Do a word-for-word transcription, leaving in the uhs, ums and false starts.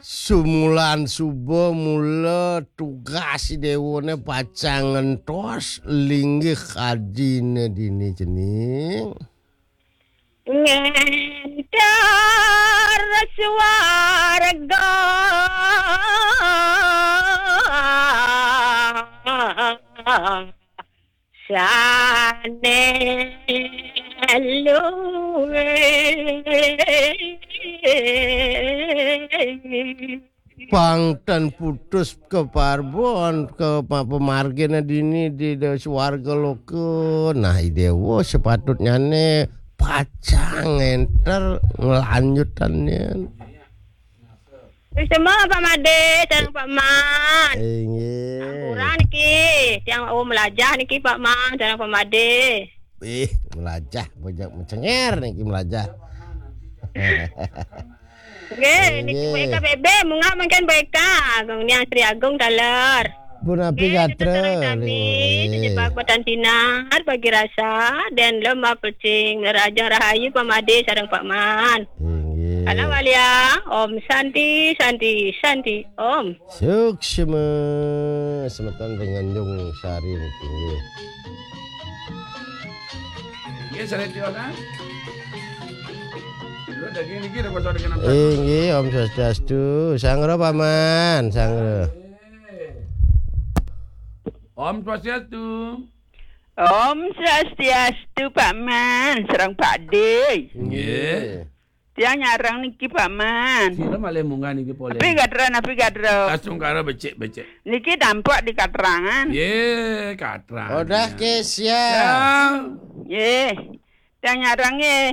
Sumulan suba mula tugas Déwané pacang ngentos linggih ajine dini cening. Ngénter swarga. Sané luwih. Pang tan putus kaparbon ka pa-, pamargina dini di, di swarga loka. Nah, I Déwa sepatutnyane pacang ngénter nglanjutannya. Wis semua Pak Madé, sareng Pak Man. Inggih. Ampura niki, tiang wau melajah niki Pak Man, sareng Pak Madé. Ih, melajah, bojog mencenger niki melajah. Nggih, niki Inggih. Bu Eka B B, munggah mangkin Bu Eka, Agung Niang Sri Agung taler. Punapi Nggih, gatra, tetep sareng sami, nggih. Sejebak batan sinar, bagi rasa, dan lemah pecing, nerajang rahayu Pak Madé sareng Pak Man. Inggih. Kala waliang, Om Santi, Santi, Santi, Om. Suksma, semeton ring Tanjung Sari niki, nggih. Nggih, sareng tiwas, ah. Dulu daging niki ring kosong dengan Inggih, Om Swastiastu. Sanggra, Pak Man, sanggra. Om Swastiastu. Om Swastiastu, Pak Man, sareng Pak Dé. Nggih. Tiang nyareng niki, Pak Man. Sira malih munggah niki polih. Napi gatra, napi gatra. Astungkara becik-becik. Niki tampek di katrangan. Nggih, katrangan. Odah ke sia. Ya. Nggih. Tiang nyareng nggih.